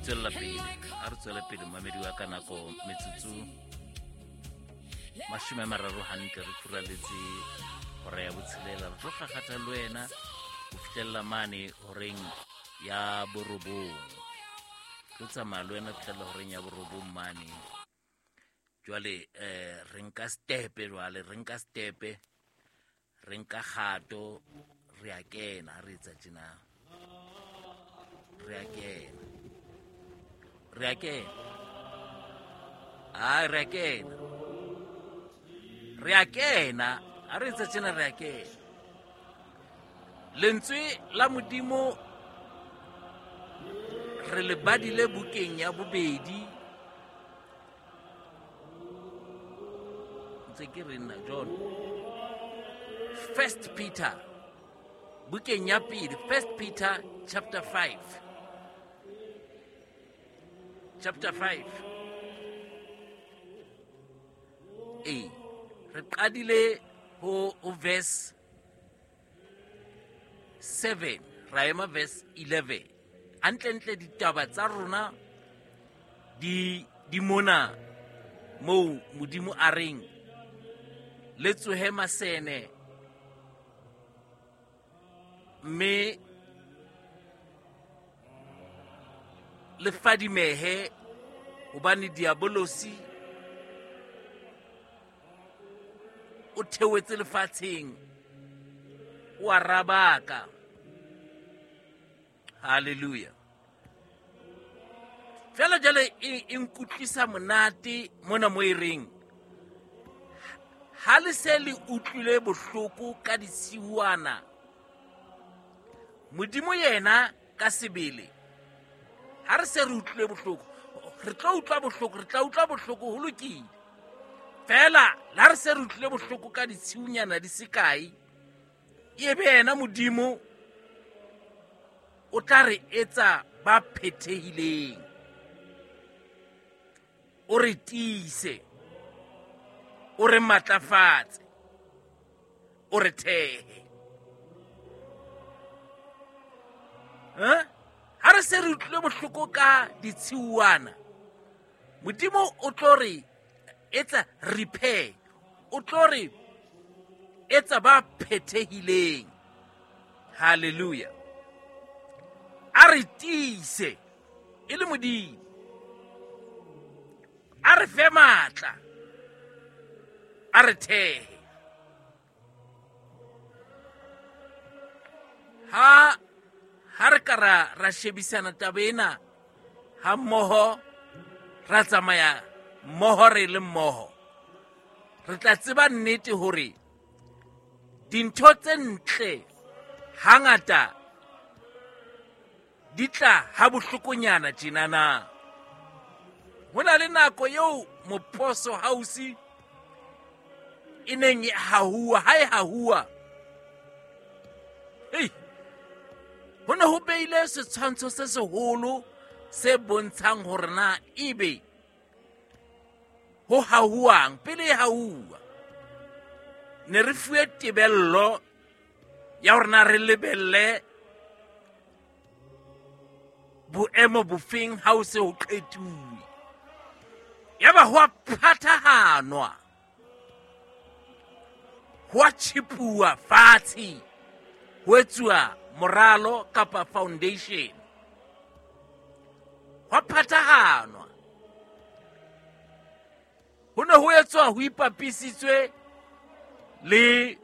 Tswella pele, a re tswele pele, mamedi wa ka. Nako metsotso 30 hantle re furaletse hora ya botshelela. Re tlo kgakgatha le wena ho fihlella mane horeng ya borobong. Tlo tsamaya le wena fihlella horeng ya borobong mane. Jwale re nka stepe, jwale re nka stepe, re nka kgato, re a kena. Re etsa tjena, re a kena, re a kena, ai, re a kena, re a kena. Ha re etsa tjena, re a kena. Lentswe la Modimo re le badile bukeng ya bobedi. Ntse ke re nna John, First Peter, bukeng ya pele, First Peter chapter 5, chapter 5. Ee, re qadile ho verse 7, ra ema verse 11. Hantlentle ditaba tsa rona di mona moo Modimo a reng le tsohe masene mme le fadimehe, hobane diabolosi o theohetse lefatsheng, o a rabaka. Halleluja. Fela jale e nkutlwisa monate mona mo e reng ha le se le utlwile bohloko ka disiwana, Modimo yena ka sebele, ha re se re utlwile bohloko, re tlo utlwa bohloko, re tla utlwa bohloko, ho lokile. Fela la re se re utlwile bohloko ka ditshiunyana di sekae, e be yena Modimo o tla re etsa ba phethehileng, o re tiise, o re matlafatse, o re thehe. Ha re se re utlwile bohloko ka ditshiuana, Modimo o tlo re etsa repair, o tlo re etsa ba phethehileng. Halleluja. A re tiise e le Modimo, a re fe matla, a re thehe. Ha re ka ra shebisana taba ena ha mmoho, ra tsamaya mmoho, re le mmoho, re tla tseba nnete hore dintho tse ntle hangata di tla ha bohlokonyana tjenana. Ho na le nako eo Moposo House e neng e hahuwa, ha e hahuwa, hei, ho ne ho beile setshwantsho se seholo se bontshang hore na ebe ho hahuwang pele e hahuwa. Ne re fuwe tebello ya hore na re lebelle boemo bofeng ha o se ho qetuwe. Yaba ho a phathahanwa, ho a tjhipuwa fatshe, ho etsuwa moralo kapa foundation, ho a phathahanwa. Ho ne ho etswa ho ipapisitswe le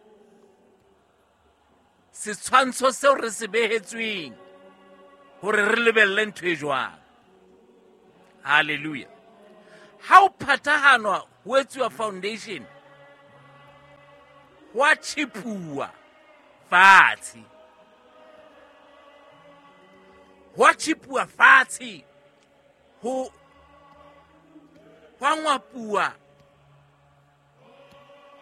setshwantsho seo re se behetsweng hore re lebelle ntho e jwang. Halleluja. Ha o phathahanwa, ho etsuwa foundation, ho a tjhipuwa fatshe, ho a tjhipuwa fatshe, ho ngwapuwa,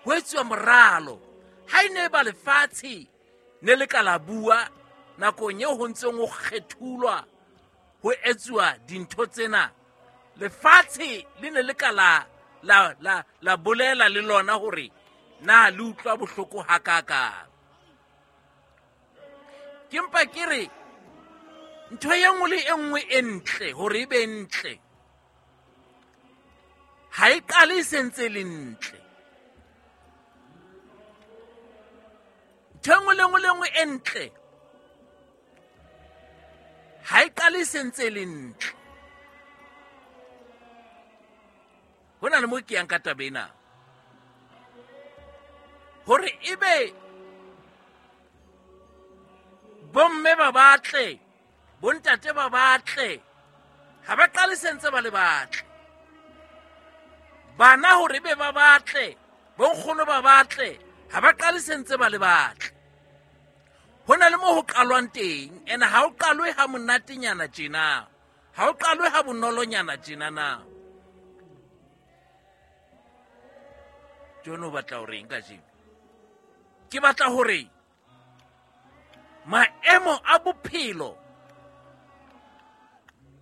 ho etsuwa moralo. Ha e ne ba lefatshe ne le ka la bua nakong eo ho ntseng ho kgethulwa, ho etsuwa dintho tsena, lefatshe le ne le ka la bolela le lona hore na le utlwa bohloko hakakang. Ke mpa ke re Ntho e nngwe le e nngwe e ntle hore e be ntle ha e qale e sentse le ntle. Ntho e nngwe le nngwe le nngwe e ntle ha e qale e sentse le ntle. Ho na le mo ke yang ka taba ena hore ebe bomme ba batle, bontate ba batle, ha ba qale sentse ba le batle. Bana hore be ba batle, bonkgono ba batle, ha ba qale sentse ba le batle. Ho na le mo ho qalwang teng, ene ha o qalwe ha monatenyana tjena, ha o qalwe ha bonolonyana tjena na. John o batla hore eng kajeno? Ke batla hore maemo a bophelo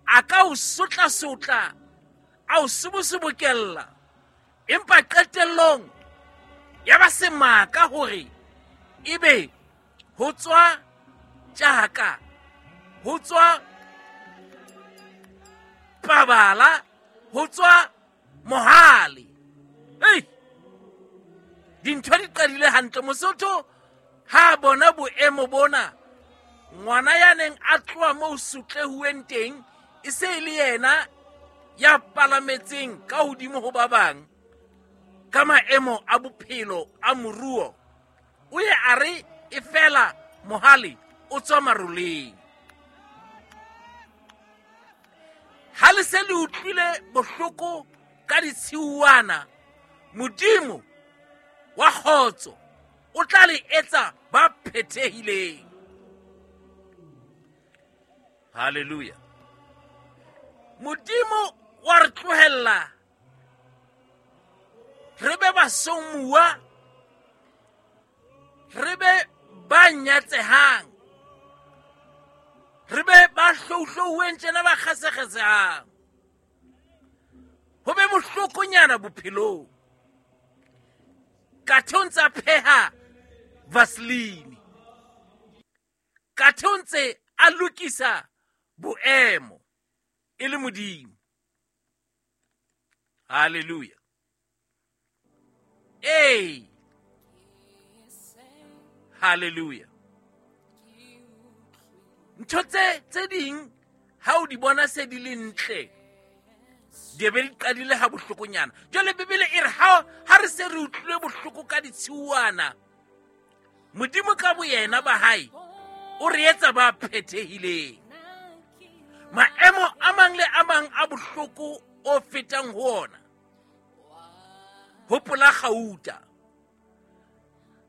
a ka o sotla-sotla, a o sobosobokella, empa qetellong ya ba semaka hore ebe ho tswa tjaka, ho tswa pabala, ho tswa mohale. Ei, dintho di qadile hantle. Mosotho ha bona boemo bona, ngwana ya neng a tloha moo sotlehuweng teng e se e le yena ya palametseng ka hodimo ho ba bang ka maemo a bophelo a moruo. O ye a re e fela mohale o tswa maroleng. Ha le se le utlwile bohloko ka ditshiuwana, Modimo wa kgotso o tla le etsa ba phethehileng. Hallelujah. Modimo wa re tlohella re be basomuwa, re be ba nyatsehang, re be ba hlouhlouweng tjena, ba kgasekgasehang, ho be bohlokonyana bophelong. Kathe o ntse a pheha vaseline, kathe o ntse a lokisa boemo e le Modimo. Hallelujah. Ee, hallelujah. Ntho tse ding ha o di bona se di le ntle, di be di qadile ha bohlokonyana. Jwale Bibele e re ha re se re utlwile bohloko ka ditshiuwana, Modimo ka boyena ba hae o re etsa ba phethehileng. Maemo a mang le a mang a bohloko o fetang ho ona, hopola kgauta.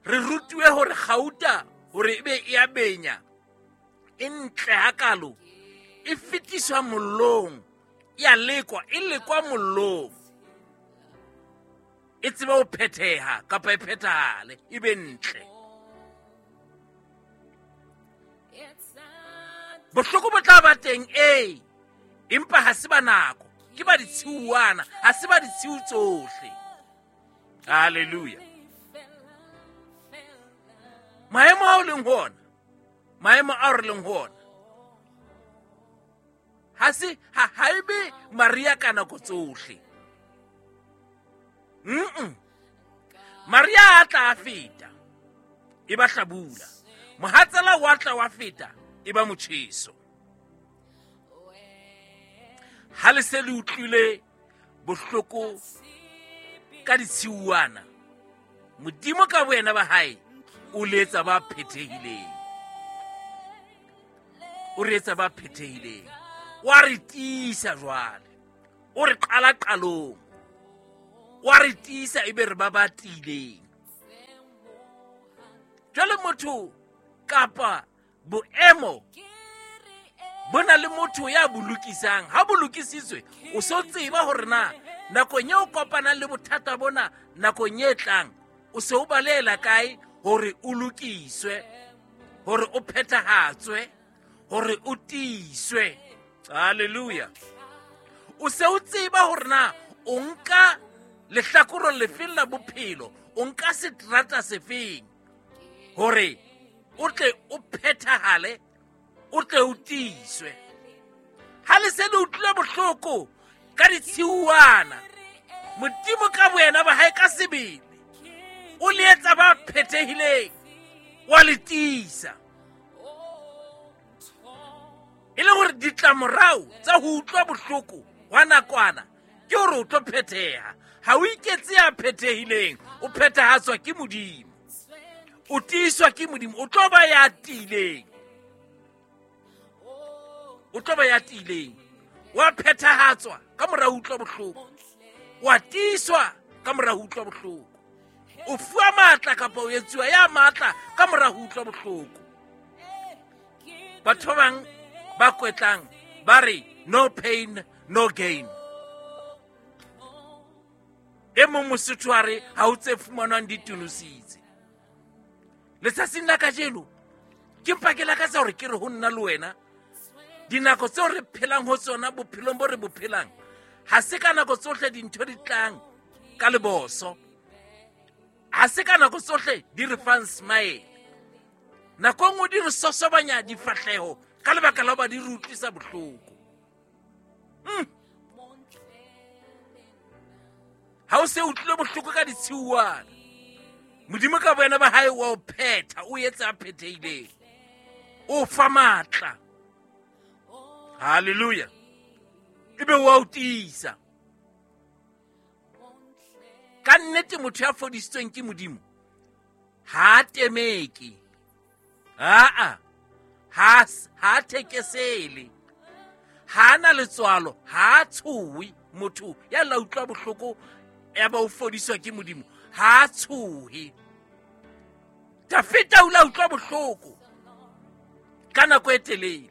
Re rutuwe hore kgauta hore ebe e a benya, e ntle hakalo, e fetiswa mollong, e a lekwa, e lekwa mollong, e tsebe ho phetheha kapa e phethahale, e be ntle. Bohloko bo tla ba teng, ee, empa ha se ba nako, ke ba ditshiuwana, ha se ba ditshiu tsohle. Hallelujah. Maemo ao leng ho ona, maemo ao re leng ho ona, ha se ha e be Maria ka nako tsohle. Maria a tla a feta, e ba hlabula. Mohatsela wa tla wa feta, e ba motjheso. Ha le se le utlwile bohloko ka ditshiuwana, Modimo ka boyena ba hae o le etsa ba phethehileng. O re etsa ba phethehileng. Wa re tiisa jwale, o re qala qalong, wa re tiisa ebe re ba ba tiileng. Jwale motho kapa boemo bo na le motho ya bo lokisang. Ha bo lokisitswe, o so tseba hore na nakong eo kopanang le bothata bona nakong e tlang, o se o baleela kae hore o lokiswe, hore o phethahatswe, hore o tiiswe. Hallelujah. O se o tseba hore na o nka lehlakoreng lefeng la bophelo, o nka seterata sefeng hore o tle o phethahale, o tle o tiiswe. Ha le se le utlwile bohloko ka ditshiuwana, Modimo ka boyena ba hae ka sebele o le etsa ba phethehileng, wa le tiisa. E le gore ditlamorao tsa go utlwa bohloko wa nakwana ke gore o tlo phetheha. Ha o iketse ya phethehileng, o phethahatswa ke Modimo, o tiiswa ke Modimo, o tlo ba ya tiileng, o tlo ba ya tiileng, wa phethahatswa ka mora ho utlwa bohloko, wa tiiswa ka mora ho utlwa bohloko, o fuwa matla kapa o etsuwa ya matla ka mora ho utlwa bohloko. Batho ba bang ba kwetlang ba re no pain no gain. E mong Mosotho a re ha o tse fumanwang di tunositse. Letsatsing la kajeno ke mpa ke lakatsa hore ke re ho nna le wena, dinako tseo re phelang ho tsona bophelong bo re bo phelang, ha se ka nako tsohle dintho di tlang ka leboso, ha se ka nako tsohle di re fang smile. Nako e nngwe di re sosobanya difahleho ka lebaka la hoba di re utlwisa bohloko. Ha o se utlwile bohloko ka ditshiuwana, Modimo ka boyena ba hae wa o phetha, o etsa a phethehileng, o fa matla. Hallelujah. Ebe wa o tiisa. Ka nnete motho ya fodisitsweng ke Modimo ha a temeke, aa ha a thekesele, ha a na letswalo, ha a tshohe. Motho ya la utlwa bohloko ya ba o fodiswa ke Modimo ha a tshohe. Dafita o la utlwa bohloko ka nako e telele,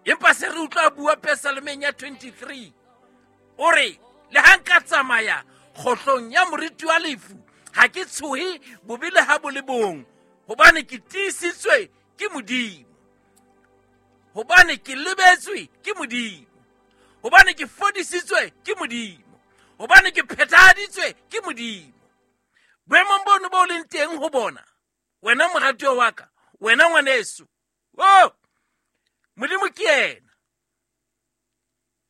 empa se re utlwa bua Pesalemeng ya 23, o re le ha nka tsamaya kgohlong ya moriti wa lefu, ha ke tshohe bobe le ha bo le bong, hobane ke tiisitswe ke Modimo, hobane ke lebetswe ke Modimo, hobane ke fodisitswe ke Modimo, hobane ke phethahaditswe ke Modimo. Boemong bono bo leng teng ho bona, wena moratuwa wa ka, wena ngwaneso, o Modimo ke yena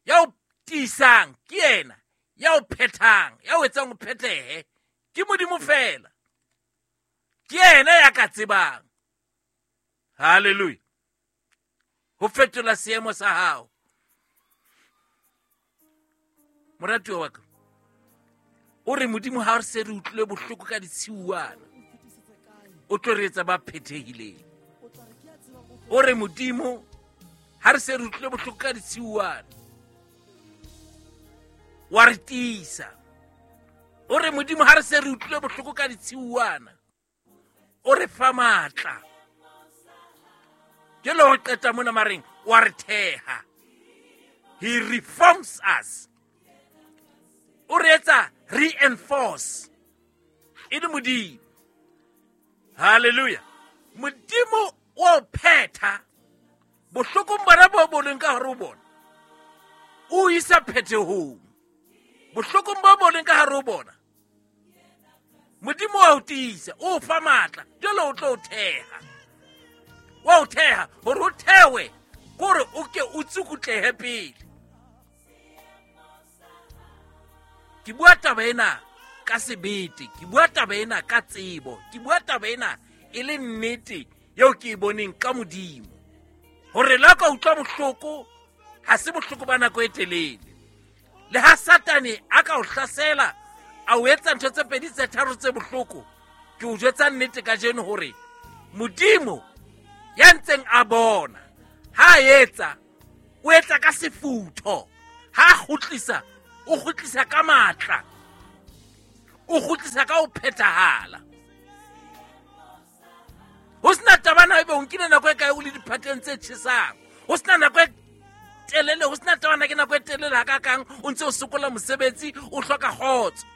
ya o tiisang, ke yena ya o phethang, ya o etsang o phethehe. Ke Modimo fela, ke yena ya ka tsebang. Hallelujah. Ho fetola seemo sa hao. Moratuwa wa ka, o re Modimo ha re se re utlwile bohloko ka ditshiuwana, o tlo re etsa ba phethehileng. O re Modimo ha re se re utlwile bohloko ka ditshiuwana, wa re tiisa. O re Modimo ha re se re utlwile bohloko ka ditshiuwana, o re fa matla. Ke le ho qeta mona mareng, wa re theha. He reforms us. O re etsa reinforce. E le Modimo. Hallelujah. Modimo wa o phetha bohlokong bona bo bo leng ka hare ho bona, o isa phethehong. Bohlokong bo bo leng ka hare ho bona, Modimo wa o tiisa, o fa matla, jwale o tlo o theha. Wa o theha hore o thewe, kore o ke o tsukutlehe pele. Ke bua taba ena ka sebete, ke bua taba ena ka tsebo, ke bua taba ena e le nnete eo ke e boneng ka Modimo. Hore la ka utlwa bohloko, ha se bohloko ba nako e telele. Le ha Satane a ka o hlasela, a o etsa ntho tse pedi tse tharo tse bohloko, ke o jwetsa nnete kajeno hore Modimo ya ntseng a bona ha a etsa, o etsa ka sefutho. Ha a kgutlisa, o kgutlisa ka matla, o kgutlisa ka ho phethahala. Ho sena taba na ebe o nkile nako e kae o le diphateng tse tjhesang, ho sena nako e telele, ho sena taba na ke nako e telele hakakang o ntse o sokola mosebetsi, o hloka kgotso.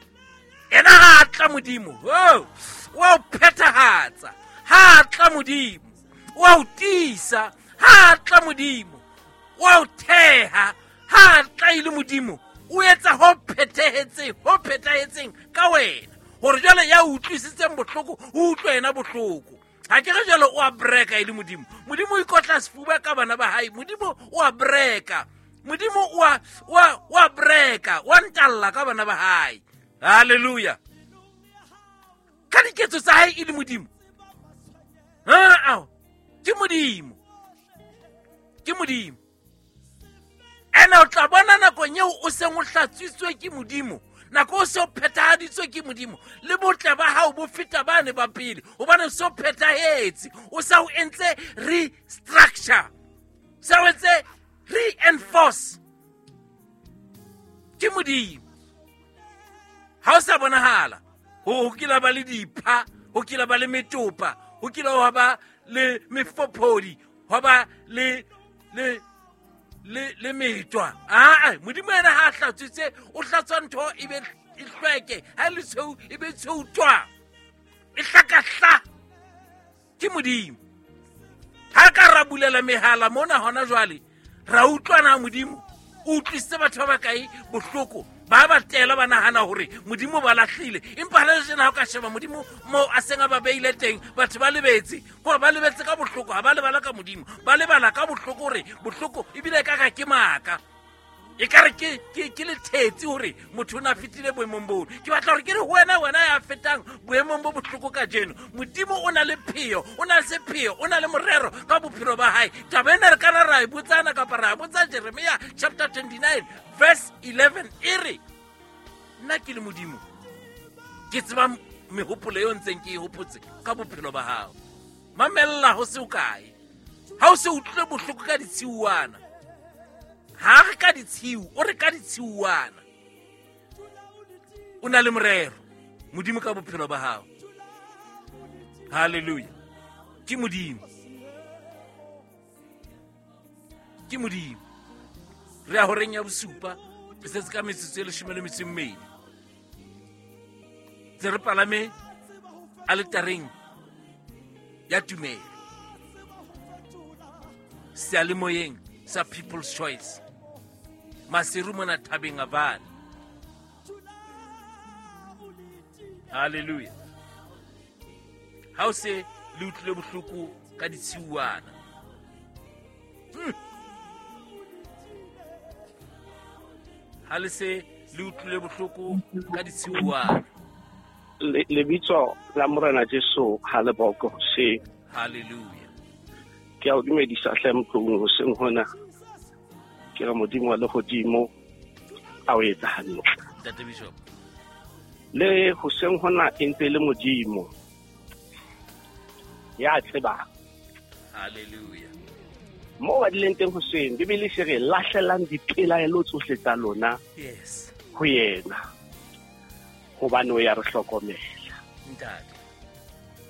Ena ha a tla Modimo, oh, wa o phethahatsa. Ha a tla Modimo, wa o tiisa. Ha a tla Modimo, wa o theha. Ha a tla e le Modimo, o etsa ho phethahetseng, ho phethahetseng ka wena, hore jwale ya utlwisitseng bohloko, o utlwe yena bohloko. Ga ke re jalo o a breka e le Modimo. Modimo o ikotla sefuba ka bana ba hae. Modimo o a breka. Modimo o a breka, wa ntalla ka bana ba hae. Halleluja. Ka diketso tsa hae e le Modimo. Aa, ke Modimo. Ke Modimo. Ene o tla bona nakong eo o seng o hlatswitswe ke Modimo, nako o se o phethahaditswe ke Modimo, le botle ba hao bo feta bane ba pele, hobane o se o phethahetse, o sa o entse restructure, sa o entse reinforce. Ke Modimo. Ha o sa bonahala ho kila ba le dipha, ho kila ba le metopa, ho kila hwa ba le mefophodi, hwa ba le le le le metwa. Aa, Modimo yena ha a hlatswitse, o hlatswa ntho e be e hlweke, ha e le tshweu e be tshweu twa, e hlakahla. Ke Modimo. Ha ka ra bulela mehala mona hona jwale, ra utlwana Modimo o utlwisitse batho ba bakae bohloko, ba ba tela ba nahana hore Modimo ba lahlile, empa ha le jena ha o ka sheba Modimo moo a seng a ba beile teng, batho ba lebetse, gore ba lebetse ka bohloko, ha ba lebala ka Modimo, ba lebala ka bohloko, hore bohloko ebile e ka ka ke maaka, e ka re ke lethetsi hore motho o ne a fetile boemong boo. Ke batla hore ke re ho wena, wena ya fetang boemong bo bohloko kajeno, Modimo o na le pheo, o na le sepheo, o na le morero ka bophelo ba hae. Taba ena re kana ra e botsana kapa ra botsa Jeremia chapter 29 verse 11, e re nna ke le Modimo ke tseba mehopolo eo ntseng ke e hopotse ka bophelo ba hao. Mamella ho se o kae, ha o se utlwile bohloko ka ditshiuwana. Ha re ka ditshiu, o re ka ditshiuwana. O na le morero Modimo ka bophelo ba hao. Hallelujah. Ke Modimo. Ke Modimo. Re ya horeng ya bosupa, re setse ka metsotso e leshome le metso e mmedi. Tse re palame aletareng ya tumelo, seyalemoyeng sa People's Choice, Maseru mona thabeng a Vale. Hallelujah. Ha o se le utlwile bohloko ka ditshiuwana. Ha le se le utlwile bohloko ka ditshiuwana. Lebitso la Morena Jesu ha le boko hoseng. Hallelujah. Ke a o dumedisa hle motlong hoseng hona. Ke re Modimo wa lehodimo a o etsa hantle. Ntate Bishop. Le hoseng hona e ntse le Modimo ya tsebang. Hallelujah. Mo ba dileng teng hoseng, Bibele se re lahlelang dipelaelo tsohle tsa lona. Yes. Ho yena. Hobane o ya re hlokomela. Ntate.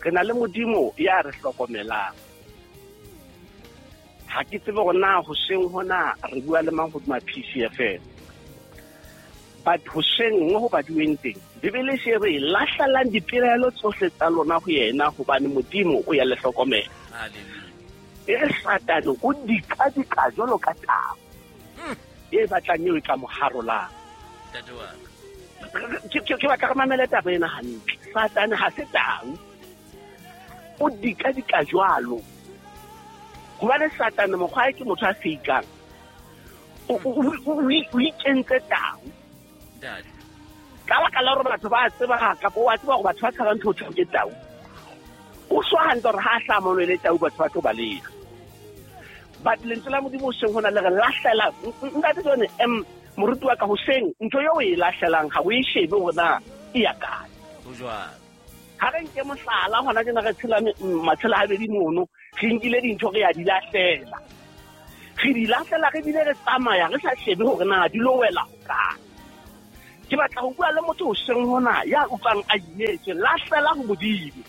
Re na le Modimo ya re hlokomelang. Ha ke tsebe hore na hoseng hona re bua le mang hodima PCFM. But hoseng mo ho baduweng teng, Bibele se re lahlelang dipelaelo tsohle tsa lona ho yena, hobane Modimo o ya le hlokomela. Hallelujah. E re Satane o dikadika jwalo ka tau e batlang eo e ka mo harolang. Ntate wa ka. Ke batla re mamele taba ena hantle. Satane ha se tau, o dikadika jwalo. Hobane Satane mokgwa ke motho a feikang, o ikentse tau. Ntate. Ka baka la hore batho ba tseba kapa wa tseba hore batho ba tshabang ntho eo ke tau. O swa hantle hore ha a hlaha mono e le tau, batho ba tlo baleha. But lentswe la Modimo hoseng hona le re lahlela. Ntate John, moruti wa ka hoseng, ntho eo o e lahlelang ha o e shebe hore na e ya kae. Ho jwalo. Ha re nke mohlala hona tjena re tshela matshelo a habedi mono, re nkile dintho re ya di lahlela. Re di lahlela re bile re tsamaya re sa shebe hore na di lo wela hokae. Ke batla ho bua le motho hoseng hona ya utlwang a imetswe, lahlela ho Modimo.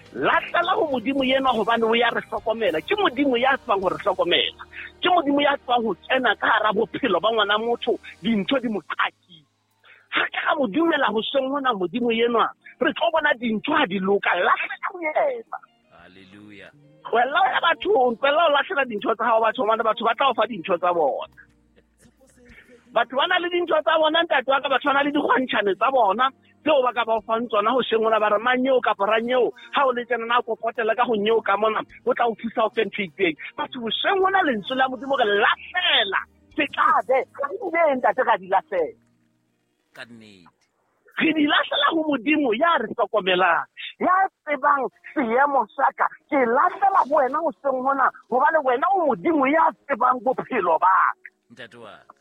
Lahlela ho Modimo yenwa hobane o ya re hlokomela. Ke Modimo ya tsebang ho re hlokomela. Ke Modimo ya tsebang ho kena ka hara bophelo ba ngwana motho, dintho di mo qakile. Ha ka ra mo dumela hoseng hona Modimo yenwa, re tlo bona dintho ha di loka. Lahlela ho yena. Hallelujah. Tlohella ho ya bathong, tlohella ho lahlela dintho tsa hao bathong, hobane batho ba tla o fa dintho tsa bona. Batho ba na le dintho tsa bona, ntate wa ka, batho ba na le dikgwantšhane tsa bona tseo ba ka ba o fang tsona go sheng ona, ba re manyeo kapa ranyeo, ga o le tsena na kopotela ka go nyeo ka mona, o tla o thusa o fe ntho e itseng. Batho bošeng gona lentswe la Modimo re lahlela sekabe ga di bee, ntate, ra di lahlela ka nnete. Re di lahlela go Modimo ya re hlokomelang, ya tsebang seemo sa ka. Ke lahlela go wena goseng gona, gobane wena o Modimo ya tsebang bophelo ba ka. Ntate wa ka,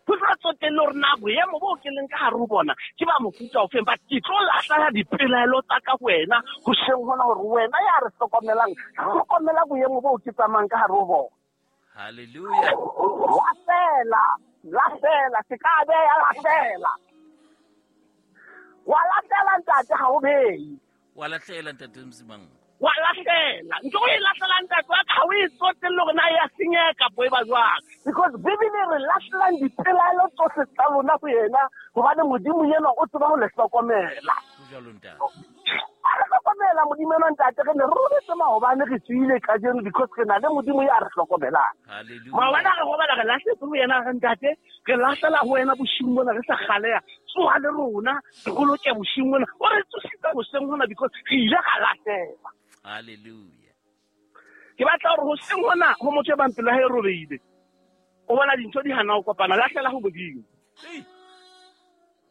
go sa tsotelle gore na boemo bo ke leng ka gare go bona ke ba mofuta ofeng, but ke tlo lahlela dipelaelo tsa ka go wena goseng gona, gore wena ya re hlokomelang, hlokomela boemo bo ke tsamayang ka gare go bona. Halleluja. Lahlela, lahlela, se ka beya, lahlela, wa lahlela, ntate, ga o beye. Wa lahlela, ntate Mosimango. Wa lahlela ntho o e lahlelang, ntate wa ka, ga o e tsotelle gore na ya senyeha kapo e ba jwang, because Bibele re lahlelang dipelaelo tsohle tsa lona go yena, gobane Modimo ena o tseba go le hlokomela. Go jalo, ntate. A re hlokomela Modimo ena, ntate. Re ne re robetse maobane, re tsoile kajeno because re na le Modimo ya re hlokomelang. Halleluja. Maobane a re robala re lahletse go yena, re ntate, re lahlela go wena bosing bona, re sa galeya, tsoga le rona, re boloke bosing bona. O re tsositse boseng gona because re ile ga lahlela. Halleluja. Ke batla gore goseng gona go motho e bang pelo ya hae e robeile, o bona dintho di hana go kopana, lahlela go Modimo. Ei,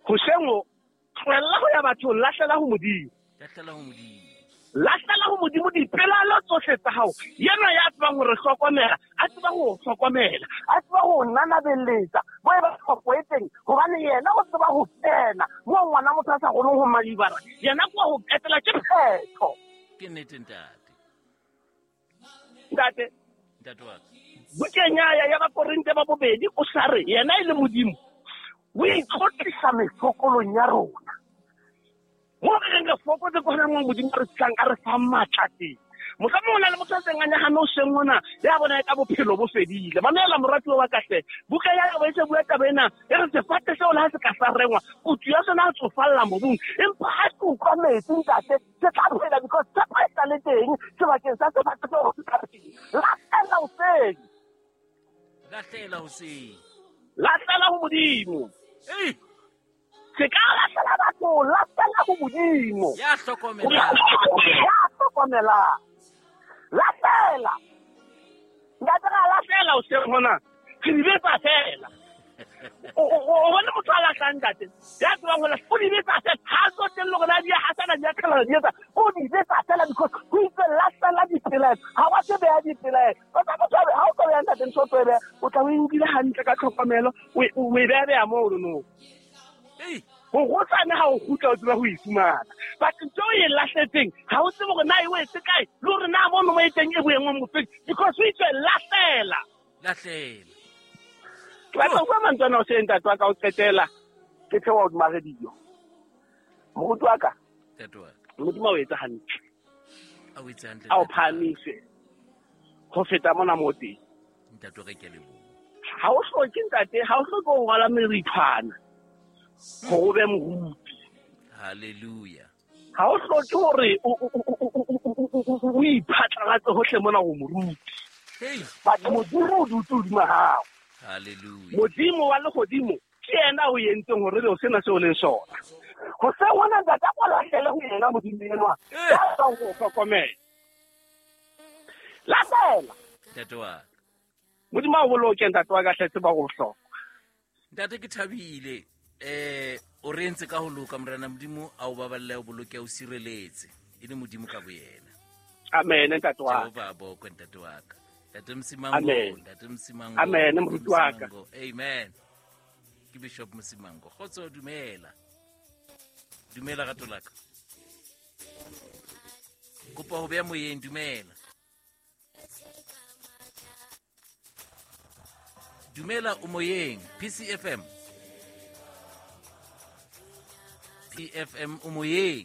goseng o tlohella go ya bathong, lahlela go Modimo. Lahlela go Modimo. Lahlela go Modimo dipelaelo tsohle tsa gago, yena ya tsebang gore hlokomela, a tseba go hlokomela, a tseba go nanabeletsa bo e ba tlhoko e teng, gobane yena o tseba go kena mo ngwana motho a sa kgoneng go madibara, yena kwa go qetela ke phetho. Ke nnete, ntate. Ntate. Ntate wa ka, bukeng ya Bakorinte ba bobedi o sa re yena e le Modimo o itlotlisa mefokolong ya rona, mo re reng re fokotse ko gona mo Modimo a re tlang a re fang maatla teng. Mohlomong o na le motho a seng a nyagame o seng ona, ya bona e ka bophelo bo fedile. Mamela, moratuwa wa kahle, buka ya bo e se bua taba ena, e re sefate seo le ha se ka sa rengwa, kutu ya sona a tsofalla mobung, empa ha se utlwa metsi, ntate, se tla phela, because tshepo e sa le teng sebakeng sa sefate seo se tla phela. Lahlela hoseng. Lahlela hoseng. Lahlela ho Modimo. Ei, se ka lahlela batho, lahlela ho Modimo ya hlokomelang. Ya hlokomelang. Lahlela, ntate, ra lahlela hoseng hona, re di betsa fela. O bone motho a lahlang, ntate, ya tsebang ho lahla, o di betsa fela, ha a tsotelle hore na di a hasana, di a qhelana, di etsa, o di betsa fela, because ho itse lahlela dipelaelo, ha wa se beha dipelaelo. Motho ha o tlo beha, ntate, ntho o tlo e beha, o tla o e nkile hantle ka tlhokomelo, o e beha beha mono no. Ei, go gotsane ga o gutla o tseba go e fumana, but ntho o e lahletseng ga o tsebe gore na e wetse kae, le gore na mono mo e teng e boengwe mofeng, because o itswe lahlela. Lahlela. Ke batla go bua mantswe ana o se, ntate wa ka, o qetela ke theoha hodima radio. Moruti wa ka, Ntate wa ka, Modimo a o etse hantle, a o etse hantle. A o Ntate wa ka. phahamise go feta mona mo teng. Ntate wa ka, ke a leboha. Ga o hloke, ntate, ga o hloke go rwala merithwana gore o be moruti. Halleluja. Ga o hloke gore o iphatlalatse gotlhe mona go moruti, Hey, but Modimo o dutse hodima gago. Halleluja. Modimo wa legodimo ke yena o entseng gore be o sena se o leng sona go se gona, ntate, a kwa lahlele go yena Modimo enwa ya tsang go hlokomela. Lahlela. Ntate wa ka. Modimo a o boloke, ntate wa ka hle, tseba go bohlokwa. Ntate, ke thabile, o re entse ka ho loka. Morena Modimo a o baballe, o boloke, o sireletse, e le Modimo ka boyena. Amen, ntate wa ka. Jehova a bokwe, ntate wa ka, ntate Mosimango. Amen. Ntate Mosimango. Amen, Ntate moruti wa ka. Mosimango. Amen. Ke Bishop Mosimango. Kgotso, dumela, dumela, rato la ka, kopa ho beya moyeng. Dumela, dumela, o moyeng, PCFM, PFM, o moyeng.